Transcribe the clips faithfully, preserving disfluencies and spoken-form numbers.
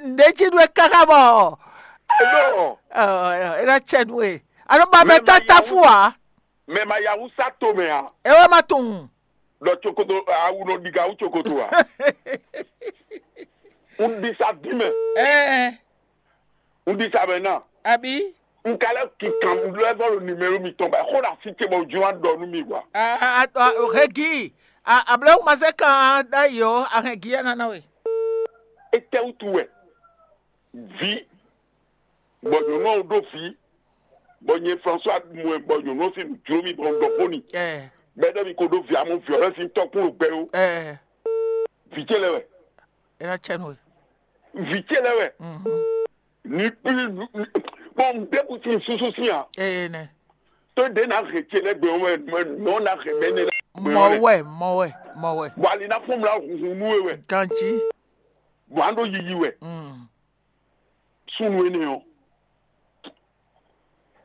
Nǔɖé jí nú we káká bɔ Ɖɔ, é ná cɛ nú we. A nɔ ba mɛ mɛ ma tátáfú ǎ. Mɛ ma ya wúsá to mɛ ǎ. É wɛ ma tunwun. Ɖɔ cokoto awu nɔ ɖiga wú cokoto ǎ. Un ɖi sa dín mɛ. Ɛɛ, Un ɖi sa mɛ ná. Abi. Un ka lɛ́ kinkan lɛ́ vɔ ɖo nimɛlo mitɔn ba xó ɖo asi ce bɔ jɔ wá ɖɔ nú mi wa. Hegi. Ablɔ́ ma zɛ kan ɖ'ayǐ ɔ́, ahɛn gi ɛ nana we. Étɛ́ wútu wɛ? Vǐ, bɔ nyɔ̌nu ɔ́ ɖó vǐ, bɔ nyɛ François mɔ ɛ bɔ nyɔ̌nu ɔ́ sín nǔ jló mì bɔ un ɖɔ xó n'i. Ɛɛ, Bɛ́ ɖɔ mi ko ɖó vǐ amɔ vǐ ɔ́ lɛ́ sín tɔ́kpún ɖo gbɛ ó. Ɛɛ, Vǐ ce lɛ́ wɛ. É ná cɛ nú we. Vǐ ce lɛ́ wɛ. Mhm. Ní kplí nǔ bɔ un ɖěbǔ sín súsú sín a. Ee nɛ. Tó ɖě ná hɛn ce lɛ́ gbɛ ɔ́ wɛ, mɔ ná hɛn mɛ énɛ́ lɛ́ gbɛ Mɔ ɔ́ lɛ. Wɛ, mɔ wɛ, mɔ wɛ. Bɔ ali ná fún mla hunhun nú we wɛ. Ganjí. Bɔ á ɖó yiyi wɛ. Mm. Súnnu énɛ́ ɔ́,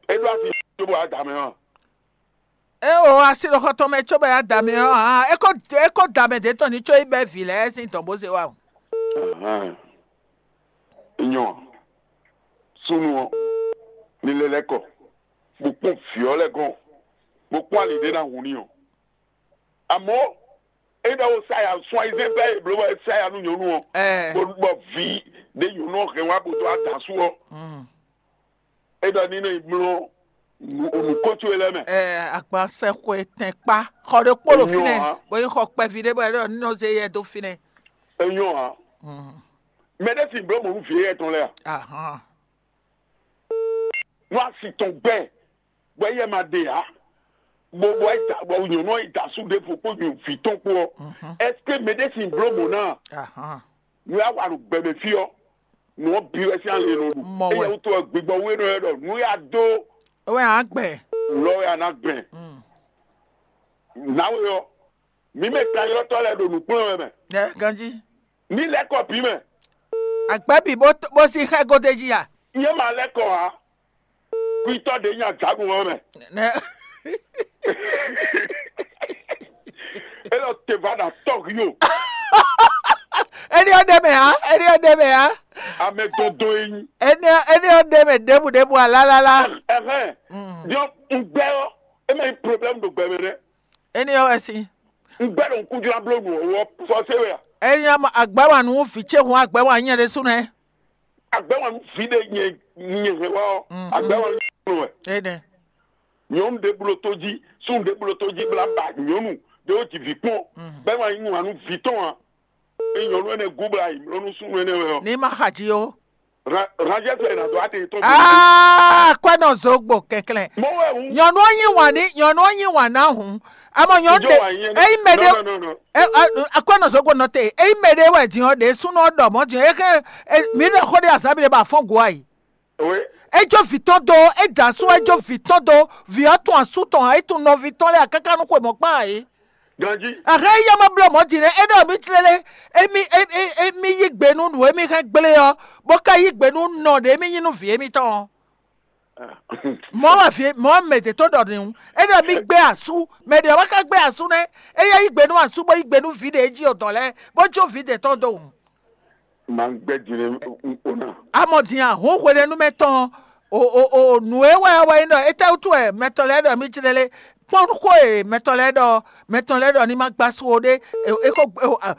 é ɖó asi cóbɔ adǎ mɛ ɔ́. É o asi ɖo xɔ tɔn mɛ cóbɔ ya da mɛ ɔ́ hã, é ko é ko da mɛ ɖě tɔn ní có yi bɛ́ vǐ lɛ́ɛ sín dɔ̌n bó zé wá o. Ahán. Nyɔ súnnu ɔ́, ní lɛ́ lɛ́ kɔ, bó kpɔ́n vǐ ɔ́ lɛ́ɛ gɔ́n, bó kpɔ́n ali ɖé ná hun n'i ɔ́. Amɔ̌, é ɖɔ wo sa ya sún ayizɛ́n bɛ́ è blǒ bɔ é sa ya nú nyɔ̌nu ɔ́, Ɛɛ. Bó bɔ vǐ ɖé nyɔ̌nu ɔ́ hɛn wá bó dó adǎ su ɔ́, Mm. É ɖɔ ní nɔ yi mlɔ́ nǔ- nǔkócó e lɛ́ɛ mɛ. Ɛ, agbansɛxwe tɛn kpá xɔ ɖé kpó ɖo Enyo fínɛ́, hã. Bó nyí xɔ kpɛví ɖé bɔ é ɖɔ ní nɔ zé yɛ dó fínɛ́. Enyo hã. Mm. Mɛ ɖé sin bló mɔ̌ nú vǐ éyɛ́ tɔn lɛ́ɛ a? Ahán. Nú asi tɔn gbɛ, bɔ éyɛ́ ma ɖe ǎ, bó bɔ é da bɔ nyɔ̌nu ɔ́ yi da asú ɖěvo kpó vǐ tɔn kpó ɔ́, Mhm. Ɛseke mɛ ɖé sin bló mɔ̌ ná? Ahán. Nú é wá wa ɖo gbɛ mɛ fí ɔ́, nǔ ɔ́ bǐ wɛ sín alě nɔ ɖu. Mɔ wɛ. Éyɛ́ wútu ɔ́, gbigbɔ wú é nɔ ylɔ́ ɖɔ nǔ e a dó Ewé hàn gbɛ. Lɔ wɛ a nǎ gbɛn. Mm. Nǎwe ɔ́, mǐ mɛ kanylɔ́tɔ́ lɛ́ɛ ɖo nǔkplɔ́n wɛ mɛ. Ɛ ganjí. Ní lɛ́ kɔ bǐ mɛ. Àgbɛ́ bǐ bó bó sí xá gode jí a? Nyɛ ma lɛ́ kɔ ǎ. Kwitɔ́ ɖě nya dǎnù ɔ́ mɛ. Nɛ É lɔ te va ɖo atɔ́ hí o. Éní ɔ́ ɖe mɛ ǎ, éní ɔ́ ɖe mɛ ǎ. Amɛ dɔndɔn e nyi. Éní ɔ́ éní ɔ́ ɖe mɛ ɖěbǔ ɖěbǔ ǎ lálálá. Ɛhɛn. Mm. Diɔ un gbɛ ɔ́, e mɛ nyi problème ɖo gbɛ mɛ nɛ. Éní ɔ́ wɛ sín. Un gbɛ ɖo un kú jlá bló nǔ ɔ́ wɔ fɔsé wɛ a? Éní ɔ́ mɔ agbɛ́ wa nǔ vǐ ce hun agbɛ́ wa nyɛ ɖésú nɛ́. Agbɛ́ wa nú vǐ ɖé nyɛ nyɛ hɛn wá ɔ́, Mhm. Agbɛ́ wa nú nyɛ wɛ. Énɛ́. Nyɔ̌nu ɖé bló tó jí, súnnu ɖé bló tó jí blá ba nyɔ̌nu ɖé wó ji vǐ kpɔ́n, Mhm. Bɛ́ ma yí wǎn nú vǐ tɔn ǎ. Ényí nyɔ̌nu énɛ́ gúbla yi mlɔ́ nú súnnu énɛ́ wɛ ɔ́, Ní ma xa jí ó. Ranjɛ́ sɔ è nǎ dó adé tɔn. Aa, kwɛ́ nɔ zogbo kɛnklɛn. Mɔ wɛ hǔn. Nyɔ̌nu ɔ́ yí wǎn ní nyɔ̌nu ɔ́ yí wǎn ná hǔn. Amɔ nyɔ̌nu Ìjọ ɖe wà nyɛ. Eyi mɛ ɖe. No, no, no, no. Akwɛ́ nɔ zogbo nɔ te. Eyi mɛ ɖe wɛ din ɔ́ ɖe súnnu ɔ́ ɖɔ mɔ̌ din ɔ́. Éxɛ mǐ ɖɔ xó ɖé azǎn mì ɖé ba fɔ́n go ayi. Oui. Ejó vǐ tɔn dó, é da asú ejó vǐ tɔn dó, vǐ ɔ́ tun asú tɔn ǎ, é tun nɔví tɔn lɛ́ɛ ǎ káká nú xwe mɔ̌ kpán ǎ é. Ganjí. Axé éyɛ́ ma bló mɔ̌ din nɛ́, é ɖɔ mì tlélé, émí émí émí yí gbe nú nǔ e mì hɛn gblé ɔ́, bó ka yí gbe nú nɔ ɖě mì nyí nú vǐ émítɔn ɔ́. Mɔ̌ wɛ vǐ mɔ̌ mɛ ɖě tó ɖɔ nǔ. É ɖɔ mì gbé asú, mɛ ɖě ɔ́ wá ka gbé asú nɛ́, éyɛ́ yí gbe nú asú bó yí gbe nú vǐ ɖě jí ɔ́ dɔn lɛ́ɛ, bó jó vǐ ɖě tɔn dó wǔ. Ma gbɛ din o na. Amɔ din a hǔn hwenɛ́nu mɛ tɔn o o o nǔ e wɛ wɛ nyí ɖɔ étɛ́wútu wɛ mɛtɔn lɛ́ɛ ɖɔ mì jlɛ́ lé? Kpɔ́n xó e mɛtɔn lɛ́ɛ ɖɔ mɛtɔn lɛ́ɛ ɖɔ ní ma gbá sú o ɖé, e ko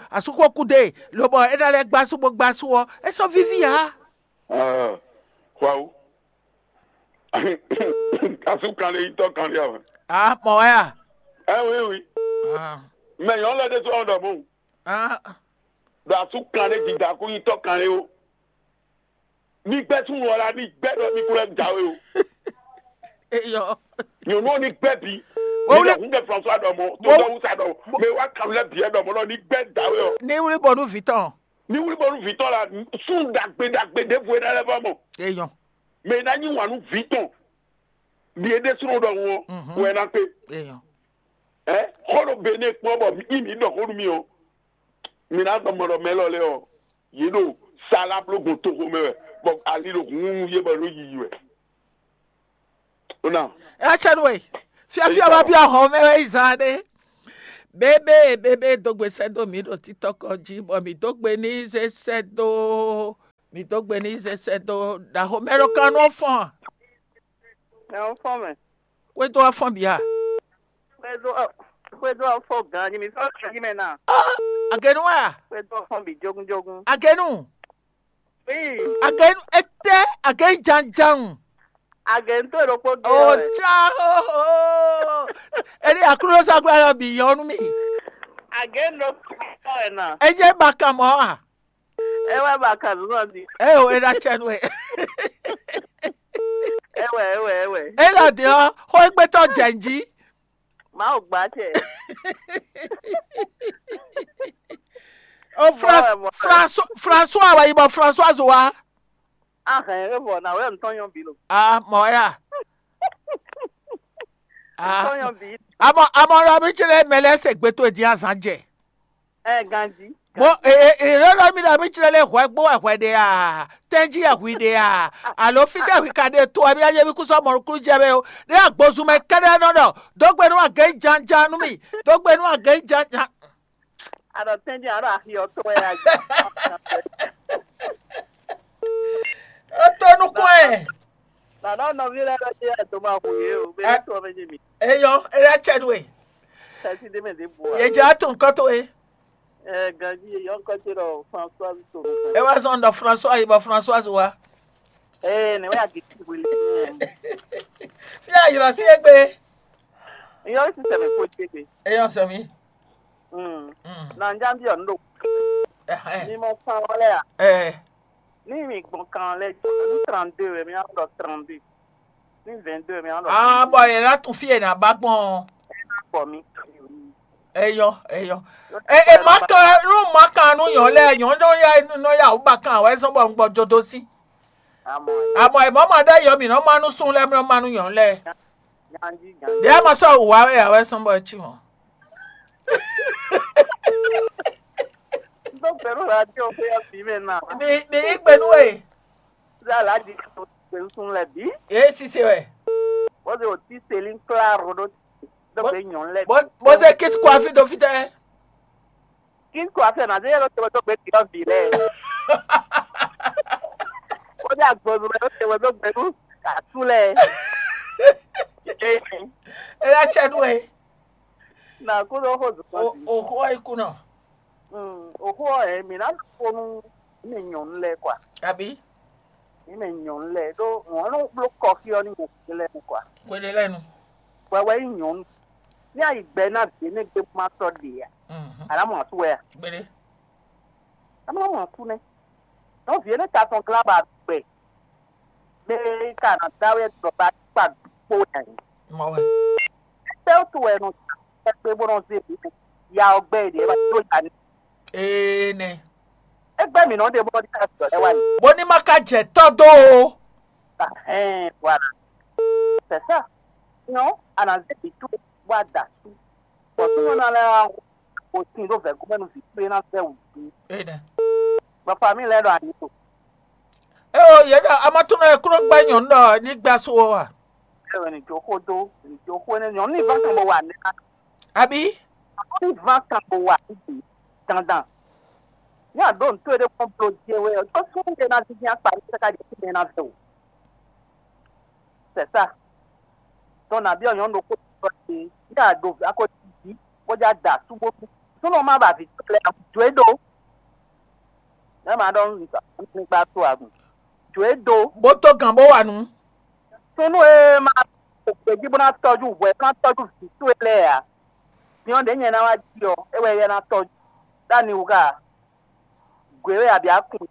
asúxó kú dé, lobɔ é ná lɛ́ gbá sú bó gbá sú ɔ́, é sɔ́ víví ǎ. Xwawo. Asú kan lé yítɔ́ kan lé a? Ah, mɔ wɛ a? Ɛ oui oui. Ah. Mɛ nyɔ̌nu lɛ́ɛ ɖésú ɔ́ ɖɔ mɔ̌. Ah. Ɖo asú kan lé dida kú nyítɔ́ kan lé ó. Ní gbɛ́ súnnu ɔ́ la ní gbɛ́ ɖɔ ní kú lɛ́ jǎwe o. Eyɔ. Nyɔ̌nu ɔ́ ní gbɛ́ bǐ. Wọ́n wúlé. Ní lɛ hún kɛ François ɖɔ mɔ̌, tó Wọ́n- dɔwú sa ɖɔ, mɛ wá kan lɛ́ bǐ ɛ ɖɔ mɔ̌ lɔ ní gbɛ́ jǎwe ɔ. Ní wúlí bɔnu vǐ tɔn. Ní wúlí bɔnu vǐ tɔn la, sún ɖagbe ɖagbe ɖěvo é ná lɛ́ vɔ mɔ. Eyɔ. Mɛ é ná nyí wǎn nú vǐ tɔn. Ɖi é ɖésúnɔ ɖɔhun ɔ́, Mhm. Wɛ ná kpé. Eyɔ. Ɛ xɔ ɖo Benin kpɔ́n bɔ mí mí ɖɔ xó nú mì ɔ́, mi ná gbɔn mɔ ɖɔ mɛ lɔ lɛ ɔ́, yě ɖo sala bló gbɔn toxo mɛ wɛ, bɔ ali ɖo hun yé bɔ ɖo yiyi wɛ. Ó ná. Ɛ cɛ nú we. Fiafia Eyí ma ta biɔ xɔ mɛ wɛ yi zan ɖé. Bébé bébé dó gbe sɛ́ dó mǐ ɖo títɔ́kɔ jí, bɔ mǐ dó gbe ní zé sɛ́ dó. Mi dó gbe ní sɛsɛ dó ɖaxó mɛ ɖo kan nú fɔn. Mɛ ɔ́ fɔn mɛ. Xwédo wá fɔn bǐ a? Xwédo xwédo ɔ́ fɔn gan nyi mi fɔn gan nyi mɛ na. Agenu wɛ a? Xwédo ɔ́ fɔn bǐ jógúnjógún. Agenu. Ii. Agenu etɛ? Agenu janjan. Agenu tó ɖokpó gé. O wɛ. Ca o. Eni akúlóságbá yɔ bǐ yɔ nú mi. Agenu ɖokpó gé wɛ na. Enye ba kan mɔ a? É wɛ ba kan nǔ nɔ di. Eo é ná cɛ nú we. É wɛ é wɛ é wɛ. É lɔ dě ɔ́, xó égbétɔ́ jɛ njí. Mawu gbá cɛ. O Fran- Mɔ wɛ, mɔ wɛ. François François wɛ yi bɔ Françoise wá. Ahɛn é vɔ na wɛ ntɔn yɔn bi lo. Ah, mɔ ya. Ah. Ntɔn yɔn bi. Amɔ amɔ lɔ mi tsɛ lɛ mɛ lɛ se gbeto e din azan jɛ. Ɛ ganji. Mo e e e lɔ mi lɔ mi tsɛ lɛ hwɛ gbó wɛ hwɛ de a? Tɛnji yɛ hwi de a? Alo fi tɛ hwi ka de to wɛ mi aye mi kú sɔ mɔnukúnú jɛ mɛ o. Ne agbozun mɛ kɛɖɛ nɔ ɖɔ dógbe nú agɛ janjan nú mi. Dógbe nú agɛ janjan. Aɖɔ tɛnji aɖɔ axi ɔtɔ wɛ ya. E to nukún ɛ. Nana nɔvi lɛ lɔ jɛ doma hu ye o. Be to mɛ jɛ mi. Eyɔ, eya cɛ nú e. Kasi de mɛ de bu. Ye jɛ ato nkɔ to e. Ɛ ganji ye yɔ nkɔ ce ɖɔ François to. E wa zɔn ɖɔ François yi bɔ Françoise wa. Ee ne wɛ agiti wele. Fi a yɔrɔ si egbe. Yɔ si sɛbɛ ko ce ke. Eyɔ sɛmi. Mm. Mm. Na njambi ɔ ndo. Ɛhɛn. Ni mo kan wale a. Ɛ. Ní mi gbɔn kan lɛ́ɛ jɔ ní trente-deux wɛ mi ná ɖɔ trente-deux. Ní vingt-deux wɛ mi ná ɖɔ. Ah, bɔ yɛ ná tún fí yɛ ná ba gbɔn. Bɔ mi. Eyɔ eyɔ. E e ma kan nú ma kan nú yɔn lɛ yɔn nɔ ya nɔ ya wú ba kan wɛ sɔn bɔ un gbɔ jodo sí. Amɔ. Amɔ e mɔ ma ɖe yɔ mi nɔ ma nú sun lɛ mi nɔ ma nú yɔn lɛ. Ganji ganji. Ɖe ma sɔ wá wɛ ya wɛ sɔn bɔ e ci mɔ. N tó gbɛɖú radio xwé ɔ́ bǐ mɛ ná. Mi mi yí gbe nú we. Zá lǎ jí gbɛɖú sun lɛ bǐ. Yé sise wɛ. Bó se o tí selí klá ro ɖó dó gbe nyɔ̌nu lɛ. Bó bó se kit kó afi dó fítɛ́. Kit kó afi ɔ́ ná zé yɛ ló te wɛ dó gbe tǐ ɔ́ bǐ lɛ. Ó dé agbɔnnu mɛ ló te wɛ dó gbe nú atú lɛ. Ela cɛ nú ɛ. Na kó ló xó zokɔ sí. O xó ayi kú nɔ. Mm, o xó ɛ mi ná kó nú mi nyɔ̌nu lɛ kɔa. Àbí? Mi mɛ nyɔ̌nu lɛ ɖó wọ́n nɔ bló kɔfí ɔ́ ní mo kú lɛ kɔa. Wele lɛnu. Wɛ wɛ nyí nyɔ̌nu. Ní ayi gbɛ ná vǐ énɛ́ gbé ma sɔ́ ɖe a? Mhm. Àná mɔ asú wɛ a? Gbélé. Àná mɔ asú nɛ́. Nɔ vǐ énɛ́ ka tɔn glá ba gbɛ. Mɛ ka ná dá wɛ dɔ ba kpa kpó wɛ a? Mɔ wɛ. Tɛ́ wútu wɛ nɔ tɛ́ gbé bó nɔ zé vǐ mɛ? Ya ɔ́ gbɛ ɖě wá dó ya ní. Ee nɛ. Égbé mǐ nɔ ɖe bó nɔ ɖi ká sɔ lɛ́ wá ní. Bó ní má ka jɛ tɔ́ dó o. Ɛhɛn, voilà. C'est ça. Sinon, a nǎ zé vǐ towe bó a da asú. Bɔ súnnu ná lɛ́ wá wǒ sin ɖó vɛ̌gúnmɛ nú vǐ towe ná vɛ́ wǔ dín. Ee nɛ. Bɔ famille lɛ́ɛ ɖo ani to. Eo yě ɖɔ amatúnɔ e kúnɔ gbɛ́ nyɔ̌nu ɖɔ ní gbɛ́ asú ó a? Ɛ wɛ ní jó xó dó, ní jó xó énɛ́ nyɔ̌nu ní ván kan bó wa nɛ́ ná. Àbí? Ní ván kan bó wa nǔ bǐ dandan. Ní àdó nǔtó e ɖé kpɔ́n blo jɛ wɛ ɔ́, tó súnnu ɖé ná dídí akpa ní káká jɛ fí mɛ ná vɛ o. C'est ça. Tɔn nǎ byɔ́ nyɔ̌nu ɖokpó ɖɔ te ní àɖo akɔ́ jí bó já da súgbó. Súnnu má ba vǐ tɔn lɛ́ɛ jǒ é ɖó. Nɛ̌ ma ɖɔ nígbà tó àgùn? Jǒ é ɖó. Bó tó gǎn bó wa nǔ. Súnnu e ma ɖo gbějí bó ná tɔ́jú hwɛ bó ná tɔ́jú vǐ towe lɛ́ɛ ǎ. Nyɔ̌nu ɖě nyɛ ná wá jí ɔ́, é wɛ yɛ ná tɔ́jú. Ɖó ani wú ká? Gwě wɛ abǐ akun.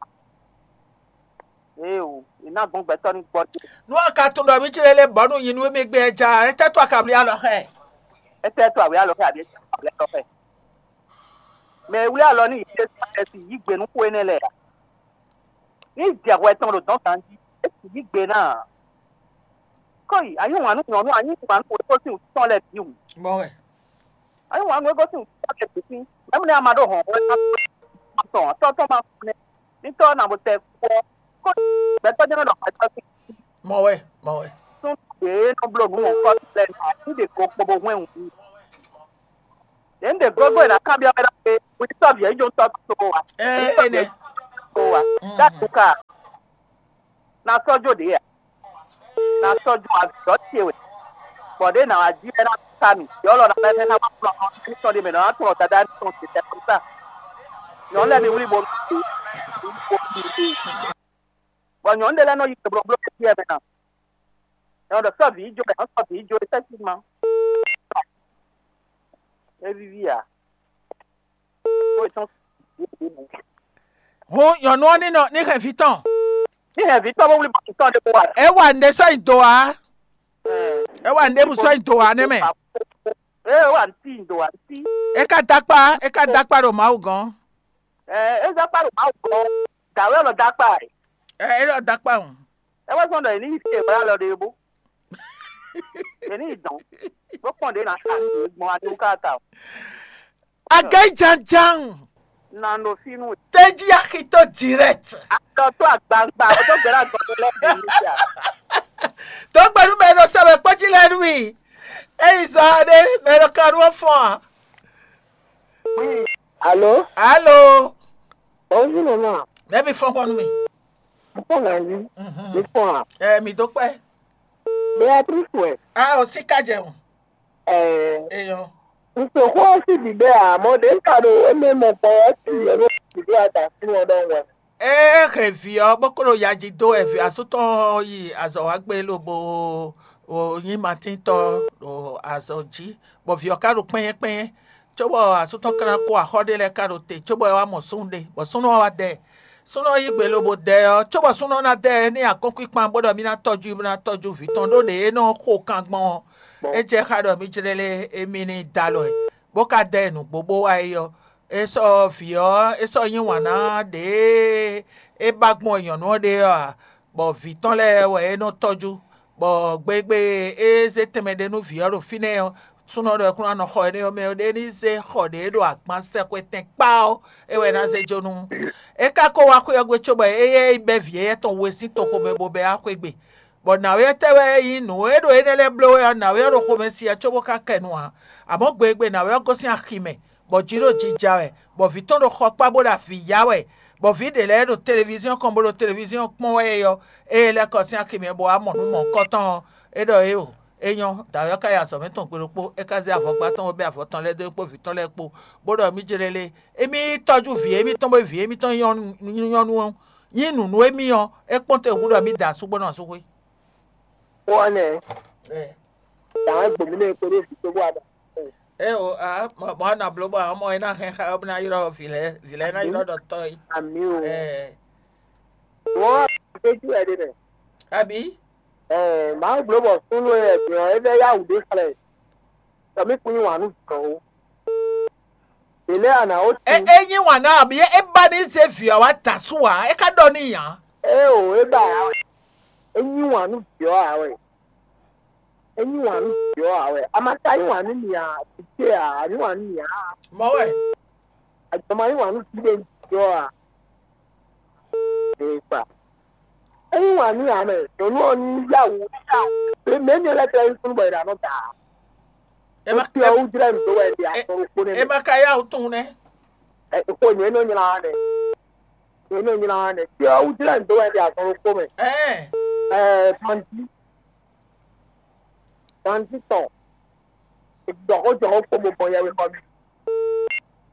Éeǒ, è nǎ gbɔn gbɛtɔ́ ní gbɔ dó. Nú a ka tunwun ɖɔ mǐ clé lé bɔ̌ nú nyi nú émí gbé ɛ ja, étɛ́ tó a ka wlí alɔ xá ɛ? Étɛ́ tó a wlí alɔ xá ɛ abǐ étɛ́ tó a wlí alɔ xá ɛ? Mɛ e wlí alɔ nú yě Jésú Klɛ́si yí gbe nú xó énɛ́ lɛ́ɛ ǎ. Ní jɛ hwɛ tɔn ɖo dɔ̌n ganjí, é sì yí gbe ná ǎ. Kɔ́yi, a yí wǎn nú nyɔ̌nu, a yí wǎn nú wěkósin wǔtú tɔn lɛ́ɛ bǐ hǔn. Mɔ wɛ. A yí wǎn nú wěkósin wǔtú tɔn lɛ́ɛ bǐ sín. Mɛ̌ mɛ a ma ɖó hɔ̌nhɔ́n ɛ ná tɔn tɔ́ tɔn ma kú nɛ́. Ní tɔ́ ɔ́ na bo tɛ kú ɔ́, kó gbɛtɔ́ jɛ́n nɔ ɖɔ gbɛtɔ́ sín. Mɔ wɛ, mɔ wɛ. Sún ɖě nɔ bló nǔ mɔ̌hunkɔtɔn lɛ́ɛ nɔ ní ɖě ko kpo bó hwɛ́n wǔ. Ɖě un ɖe gógó e ná kanbyɔ́ mɛ ɖɔ pé wětɔ́ vǐ ɛ nyí jǒntɔ́ tó wa. Ɛ ɛ nɛ. Tó wa. Dá tu ka. Na sɔ́ jó ɖě a? Na sɔ́ jó azɔ̌ ce wɛ. Bɔ ɖě nǎ wá jí wɛ ná sa mì. Yɔ́lɔ ná lɛ́ ná wá kplɔ́n nɔ ní sɔ́ ɖé mɛ nɔ ná tunwun dada ní tɔn ce tɛ́ kɔmísá. Nyɔ̌nu lɛ́ɛ mi wlí bo mi bo mi bo. Bɔ nyɔ̌nu ɖé lɛ́ɛ nɔ yi blóbló ɖé mɛ ná. Nyɔ̌nu ɖɔ sɔ́ vǐ jó, nyɔ̌nu sɔ́ vǐ jó, effectivement. É víví ǎ. Ó tɔn. Hǔn nyɔ̌nu ɔ́ ní nɔ ní hɛn vǐ tɔn. Ní hɛn vǐ tɔn bó wlí bɔ tɔn ɖé kó wá. É wa nǔɖé sɔ́ nyi do ǎ. É wa nǔɖé bǔ sɔ́ nyi do ǎ nɛ́ mɛ. É wá ntí ndo ǎ ntí. É ka dó akpá, é ka dó akpá ɖo Mawu gɔ́n. Ɛ é zá kpá ɖo Mawu gɔ́n. Dǎwe ɔ́ nɔ dó akpá ɛ. Ɛ é lɔ dó akpá hǔn. É wá zɔ́n ɖɔ è ní yi fí e wá lɔ ɖe é bó. È ní yi dɔn. Bó kpɔn ɖě ná ká ní gbɔn adó ká ta o. Agɛ́ jánján. Na nɔ fínú. Tɛ́jí axitó direct. Àtọ̀ tó àgbààgbà ó tó gbẹ́rẹ́ àgbọ̀n tó lẹ́gbẹ̀ẹ́ níjà. Tó gbẹnu mɛ nɔ sɛ mɛ kpɔ́ jí lɛ nú mi. Eyi zɔ aɖe mɛ nɔ ka nú ɔ́ fɔ́n a. Alo, Alo, bonjour maman. Mɛ mi fɔ́n kɔ nú mi. Fɔ́n ganji. Mi fɔ́n a? Ɛ mi dó kpɛ. Beatrice wɛ. A o sí ká jẹun. Ɛɛ, Eyɔ. n se xó ɔ́ sí bǐbɛ́ ǎ, mɔ ɖě un ka ɖo émɛ mɔ gbɔn ɔ́ sí yɛ ɖó bǐbɛ́ adǎsín ɔ́ ɖɔhun wɛ. Ee hɛn vǐ ɔ́ bó kó ɖo yaji dó wɛ vǐ asú tɔn ɔ́ yi azɔ̌ wá gbé lobo o nyí matíntɔ́ ɖo azɔ̌ jí, bɔ vǐ ɔ́ ka ɖo kpɛ́nyɛ́kpɛ́nyɛ́, cóbɔ asú tɔn ka ná kó axɔ́ ɖé lɛ́ɛ ka ɖo te, cóbɔ é wá mɔ súnnu ɖé, bɔ súnnu ɔ́ wá dɛ ɛ. Súnnu ɔ́ yí gbe lobo dɛ ɛ ɔ́, cóbɔ súnnu ɔ́ ná dɛ ɛ ní akɔ́nkpinkpan bó ɖɔ mí ná tɔ́jú mí ná tɔ́jú vǐ tɔn ɖó ɖě é nɔ xo kan gbɔn ɔ́, é jɛ xá ɖɔ mí jlɛ́ lé émí ní dó alɔ ɛ, bó ka dɛ ɛ nǔgbó bó wá é ɔ́, é sɔ́ vǐ ɔ́ é sɔ́ yí wǎn ná ɖě é ba gbɔn nyɔ̌nu ɔ́ ɖe ɔ́ ǎ, bɔ vǐ tɔn lɛ́ɛ wɛ é nɔ tɔ́jú, bɔ gbegbe e é zé tɛnmɛ ɖé nú vǐ ɔ́ ɖo fínɛ́ ɔ́, súnnu ɔ́ ɖɔ é kún ná nɔ xɔ énɛ́ ɔ́ mɛ ɔ́, ɖé ní zé xɔ ɖě ɖo agban sɛxwetɛn kpá ɔ́, é wɛ ná zé jó nú. É ka ko wá xwé ɔ́ gbe cóbɔ éyɛ́ yi bɛ́ vǐ éyɛ́ tɔn we sín toxo mɛ bó bɛ́ wá xwé gbe. Bɔ nǎwe ɔ́ tɛ́ wɛ nyí nǔ e ɖo énɛ́ lɛ́ɛ bló wɛ ɔ́, nǎwe ɔ́ ɖo xomɛ si ɛ cóbó ka kɛ nu ǎ. Amɔ̌ gbe e gbe nǎwe ɔ́ gosín axi mɛ, bɔ jǐ ɖo jija wɛ, bɔ vǐ tɔn ɖo xɔ kpá bó ɖo avǐ ya wɛ, bɔ vǐ ɖě lɛ́ɛ ɖo televíziɔ́n kɔn bó ɖo televíziɔ́n kpɔ́n wɛ é ɔ́, ée é lɛ́ kɔ sín axi mɛ bó wá mɔ nǔ mɔ̌hunkɔtɔn ɔ́, é ɖɔ éeǒ. É nyɔ́, dǎwe ɔ́ ka yi azɔ̌ mɛ tɔn gbe ɖokpó, é ka zé avɔgbá tɔn bó bɛ́ avɔ tɔn lɛ́ɛ dó é kpó vǐ tɔn lɛ́ɛ kpó, bó ɖɔ mí jlé lé, émí tɔ́jú vǐ émítɔn bó vǐ émítɔn nyɔ́nu ɔ́ nyí nǔ nú émí ɔ́, é kpɔ́n te hǔn ɖɔ mí da asú bó nɔ asú xwé. Xó ɔ́ nɛ́, dǎwe gbǒmí nɛ kpódó vǐ tó bó wá ɖɔ. É o a mɔ a nɔ bló bɔ a mɔ é ná hɛn xá ɔ́ bó ná yrɔ́ vǐ lɛ́ɛ vǐ lɛ́ɛ ná yrɔ́ ɖɔ tɔ́ é. Àmì o. Ɛ Wọ́n á gbé jù ẹ̀ ɖé mɛ. Àbí? Ɛɛ, Mawu bló bɔ súnnu e ɛgbɛn ɔ́, é vɛ́ yá wǔ ɖé xlɛ́. Tɔmí kún yí wǎn nú dɔ̌n ó. Ɖě lɛ́ɛ a nǎ ó é tu. É nyí wǎn ná àbí é ba ní zé vǐ ɔ́ wá da asú ǎ, é ka ɖɔ n'i ǎ. Ée o, é ba ǎ wɛ. É yí wǎn nú dǐ ɔ́ ǎ wɛ. É yí wǎn nú dǐ ɔ́ ǎ wɛ. A ma ka yí wǎn nú mì ǎ, vǐ ce ǎ, a yí wǎn nú mì ǎ. Mɔ̌ wɛ. Àjọ ma yí wǎn nú dǐ ɖé dǐ ɔ́ ǎ. Ee kpa. É yí wǎn nú ǎ mɛ. Nyɔ̌nu ɔ́ ní yá wǔ ní yá wǔ. Mɛ ní lɛ́ tlɛ yí súnnu bɔ è ɖǎ nɔ da. É ma Tí ɔ́ wú jlɛ́ nǔ dó wɛ ɖi asɔ́ ɖokpó nɛ́ é mɛ. ma ka yá wǔ tunwun nɛ́. Ɛ, xo nyɛ nɔ nylá wa nɛ. Nyɛ nɔ nylá wa nɛ. Tí ɔ́ wú jlɛ́ nǔ dó wɛ ɖi asɔ́ ɖokpó mɛ. Ɛɛ Ɛɛ, Bandi. Bandi tɔn. Jɔxó jɔxó kpó mo gbɔn yɛwe xɔ mi.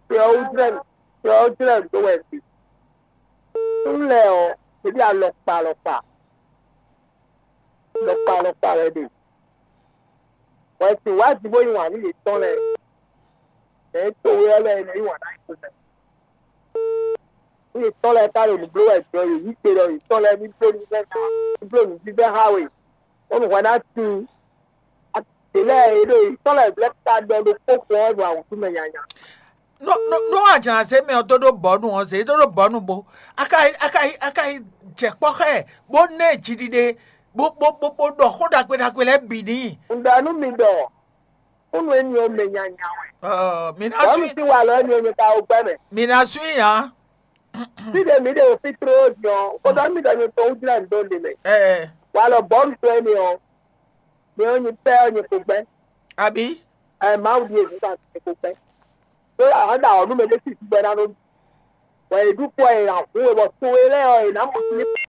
Tí ɔ́ wú jlɛ́ nǔ. Tí ɔ́ wú jlɛ́ nǔ dó wɛ ɖi. Súnnu lɛ́ɛ ɔ́, ɖěbí alɔkpa alɔkpa. Alɔkpa alɔkpa wɛ ɖe. Wɛ sin wá ji bó yí wǎn nú yětɔn lɛ́ɛ. Mɛ e to we ɔ́ lɛ́ɛ nɔ yí wǎn ná yě mɛ. Nú yětɔn lɛ́ɛ ka ɖo nǔ bló wɛ jɔ yě yí gbe ɖɔ yětɔn lɛ́ɛ ní bló nǔ vɛ́ ná, ní bló nǔvívɛ́ xá we. Bónú hwɛ ná tín. Yě lɛ́ɛ yě ɖo yětɔn lɛ́ɛ blɛ́ ka ɖɔ ɖokpó xo ɔ́ ɖo awǔtú mɛ nyanya. No no no ajana zé mɛ ɔ́ dó ɖó bɔ̌nu ɔ́ zé dó ɖó bɔ̌nu bo aka aka aka yi jɛ kpɔ́ xá ɛ bó ná ɛ jiɖiɖe bó bó bó bó ɖɔ xó ɖagbe ɖagbe lɛ́ɛ bǐ n'i. Un ɖɔ nú mi ɖɔ, kúnnu éní ɔ́ mɛ nyanya wɛ. Ɔ mi ná Bɔ̌ sú mi sín wa lɔ éní ɔ́ mi ka wo gbɛ́ mɛ. Mi ná sú i hã. Fí ɖe mǐ ɖe o fí tró din ɔ́, xó ɖɔ mì ɖɔ nyɛ tɔn wú jlɛ́ nǔ dó ɖe mɛ. Ɛ Wa lɔ bɔ̌ mi tɔn éní ɔ́, mi ɔ́ nyi pɛ́ ɔ́ nyi ko gbɛ́. Àbí? Ɛ Mawu ɖíe nǔ kan nyi ko gbɛ́. Ɖó àwọn ɖa ɔ̌ nú mɛ ɖé sí gbɛ ná nú mi. Wɛ è ɖu kpɔ è nǎ hu we bɔ to e lɛ́ɛ ɔ́ è nǎ mɔ sín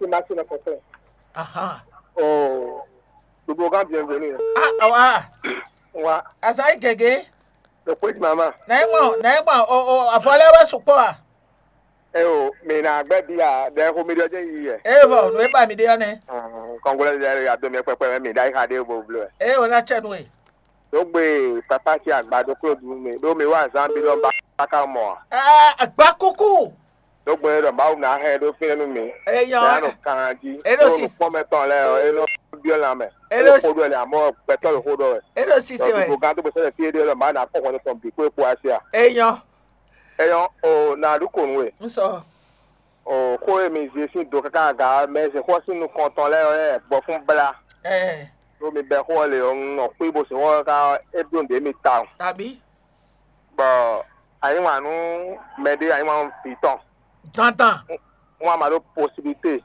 Maxi Maxi nɔ kɛkɛ. Ahan. Oh, Dobogan bienvenue. Ah, awa. Wa. Asayi gege. Le kwe di mama. Na e mɔ, na e mɔ o o avɔ lɛ wɛ sukpɔ a. E o, mi na gbɛ bi a, de ko mi ɖɔ je yi yɛ. E vɔ, nu e ba mi ɖe ɔ́ nɛ. Kɔngolɛ de ya do mi kpɛkpɛ mi da yi xa de bo blɔ. E o na tsɛ nu e. Dogbe papa ti agba do klo du mi, do mi wa zan bi lɔ ba ka mɔ. Ah, agba kuku. Dogbe lɔ ba na hɛ do fi nu mi. Eyɔ. Ya no kan ji. E do si. Kpɔmɛ tɔn lɛ o, e no biɔ la mɛ. E do si. Ko do le amɔ gbɛtɔ le ko do. E do si se wɛ. Ko gan to gbèsè fi de lɔ ba na kɔ kɔn tɔn bi ko e ko asia. Eyɔ. Eyɔ o na du ko nu e. N sɔ. O xó e mi zé sín do káká aga mɛ zé xó sín nukɔn tɔn lɛ ɔ yɛ gbɔ fún bla. Ɛ. Ɖó mi bɛ xó ɔ le ɔ, un nɔ kpé bó se xó ɔ́ ká é ɖó nǔɖé mi tawun. Tàbí. Bɔ anyíwǎn nú mɛɖé anyíwǎn nú vǐ tɔn. Dandan. Wọ́n á ma ɖó posibilité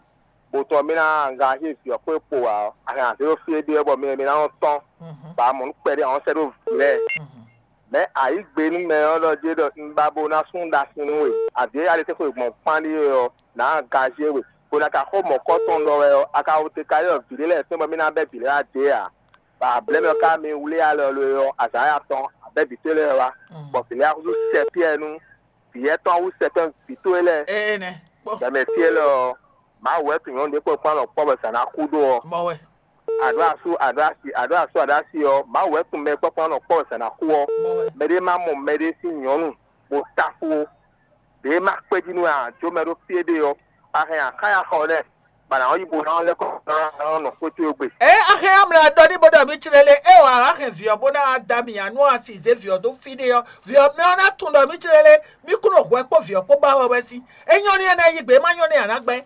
bó tɔn mí ná anga xí vǐ ɔ́ xwé kpo ǎ ɔ́, a hɛn azé ɖó fí é ɖe ɔ́ bɔ mi mi ná nɔ tɔ́n. Mhm. Bɔ a mɔ nǔ kpɛɖé a nɔ sɛ́ ɖó vǐ lɛ́ɛ. Mhm. Mɛ̌ ayǐgbe nú mɛ ɔ́ ɖɔ jé ɖɔ un ba bo ná sú ɖasin nú we. Avǐ e ali tɛ́ xwe gbɔn kpán ɖíe ɔ́, nǎ gazé we. Bó ná ka xó mɔ̌kɔ́tɔn ɖɔ wɛ ɔ́, a ka wo te ka ylɔ́ vǐ ɖé lɛ́ɛ fɛ́n bɔ mí ná bɛ́ vǐ lɛ́ɛ wá dě ǎ. Bɔ ablɛ́ mɛ ɔ́ ka mi wlí alɔ lo e ɔ́, azǎn ya tɔn abɛ́ vǐ towe lɛ́ɛ wá, bɔ vǐ lɛ́ɛ axúzú sɛ Piyɛ́ɛ nú vǐ yɛ́tɔn wú sɛ tɔn vǐ towe lɛ́ɛ. Ee nɛ. Gbɛmɛ fí élɔ́ ɔ́, Mawu wɛ tunwun nyɔ̌nu ɖé kpɔ́n kpɔ́n nɔ kpɔ́ bɔ zǎn ná xú ɖó ɔ́. Mɔ wɛ. Aɖó asú aɖó asi aɖó asú aɖó asi ɔ́, Mawu wɛ tunwun mɛ kpɔ́n kpɔ́n nɔ kpɔ́ bɔ zǎn ná xú ɔ́. Mɔ wɛ. Mɛɖé má mɔ mɛɖé sín nyɔ̌nu bó táfó ó. Ɖě má kpé jí nú ǎ, jó mɛ ɖó fí éɖée ɔ́, a hɛn akáyaxɔ lɛ́ɛ, bɔ a nǎ yi bo ná lɛ́ kɔ ná nɔ xwé towe gbe. Ée a hɛn amlɔ adɔ ní bo ɖɔ mǐ tlɛ lé, ée wǎ hɛn vǐ ɔ́ bó ná da mì ǎ nú a si zě vǐ ɔ́ dó fí ɖé ɔ́, vǐ ɔ́ mɛ ɔ́ ná tunwun ɖɔ mǐ tlɛ lé, mí kún ɖo hwɛ kpó vǐ ɔ́ kpó ba wɛ wɛ sín. É nyɔ́ n'i a ná yí gbe, é má nyɔ́ n'i a nǎ gbɛ́.